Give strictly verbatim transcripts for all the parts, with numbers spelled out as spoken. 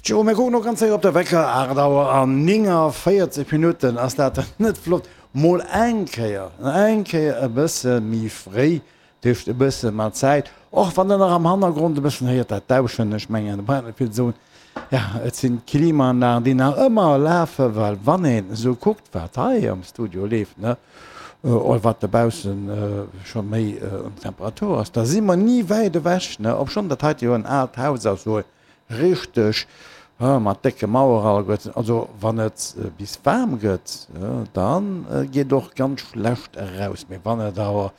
Tjo, mir kucken och ganz séier op de Wecker, aacht Auer an néngaavéierzeg Minutten. Ass dat dann net flott? Mol eng Kéier, eng Kéier e bësse méi fréi, dat heescht e bësse mat Zäit, och wann Der nach am Hannergrond e bëssen héiert dat Dauschen. Ech mengen, da brauch een net vill ze soen, ja, et sinn d'Klimaanlagen, déi nach ëmmer lafen, well wann een esou kuckt, wat hei am Studio leeft, ne, oder wat dobaussen scho méi un Temperatur ass, da si mer ni wäit ewech, ne, obschonn dat heite jo en aalt Haus ass, esou Richteg, mat décke Mauere alleguerten. Also wann et bis waarm gëtt, da geet och ganz schlecht eraus. Mee wann et awer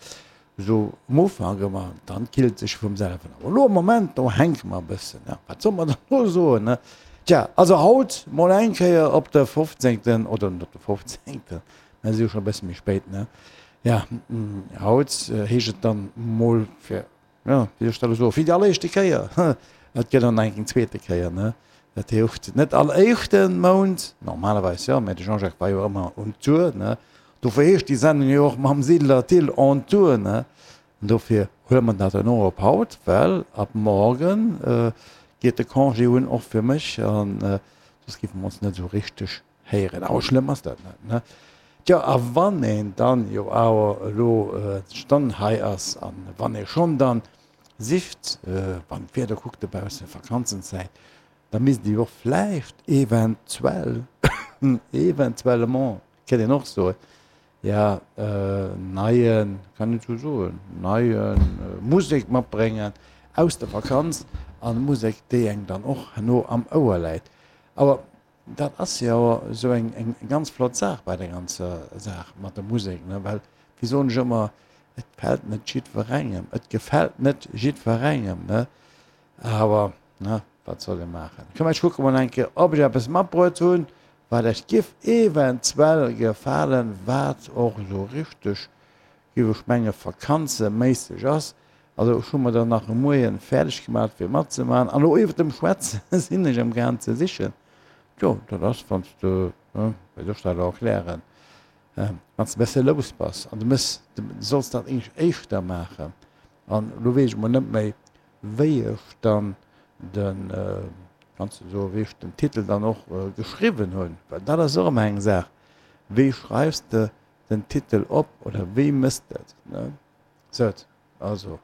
esou um Ufank ëmmer, dann killt sech vum selwen. Awer elo am Moment, do hänke mer e bëssen. Wat soll mer dann elo soen, ne? Tja, also haut mol eng Kéier op de fofzéngten, oder net op de fofzéngten, mä si jo scho e bësse méi spéit, ne? Ja, haut heescht et dann mol fir Jo, wéi soll ech dat elo soen, fir déi alleréischte Kéier, et gëtt dann eng zweete Kéier, ne? Dat heescht net all éischte Mount, normalerweis jo, mä de Jean-Jacques war jo ëmmer on tour, ne? Dofir heescht déi Sendung jo och Mam Siedler Thill on tour, ne? An dofir huele mer dat dann och op haut, well ab morgen geet de Congé un, och fir mech, an soss géife mer ons net esou richteg héieren. Awer schlëmm ass dat net, ne? Tjo, a wann een dann jo awer elo dann hei ass, a wann ee schonn dann sicht, wann d'Wieder kuckt dobaussen, Vakanzenzäit, da misst ee jo och vläicht eventuell, eventuellement kéint een och soen, jo, neien, kann een esou soen, neie Musek matbréngen aus der Vakanz, a Musek, déi engem dann och herno am Ouer läit. Awer Dat ass jo esou eng eng ganz flott Saach bei der ganzer Saach mat der Musek, ne, well, wéi soen ech ëmmer, et fält net jiddwerengem, et gefält net jiddwerengem, ne, awer, ne, wat soll ee maachen. Komm, ech kucke mol eng Kéier, ob ech eppes matbruet hunn, wat Iech giff eventuell gefalen, wat och esou richteg, giff ech menge vakanzeméisseg ass. Also ech hu mer der nach e Moien fäerdeg gemat fir matzemaachen, an elo iwwert dem Schwätze sinn ech amgaang ze sichen. Jo, dat ass, wann s de, wéi soll ech dat elo erklären, wann s de e bësse lous bass an du méchs, du solls dat eigentlech éischter maachen. An elo weess ech emol net méi, wéi ech dann den, kanns de soen, wéi ech den Titel dann och geschriwwen hunn, well dat ass och ëmmer eng Saach, wéi schreifs de den Titel op oder wéi méchs de et, ne? Sou, also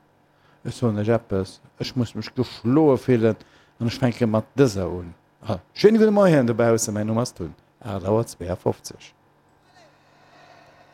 ech soen lech eppes, ech muss mech geschloe fillen an ech fänke mat dëser un. Schéine gudde Moien dobaussen, mäin Numm ass Tun, aacht Auer zweeafofzeg.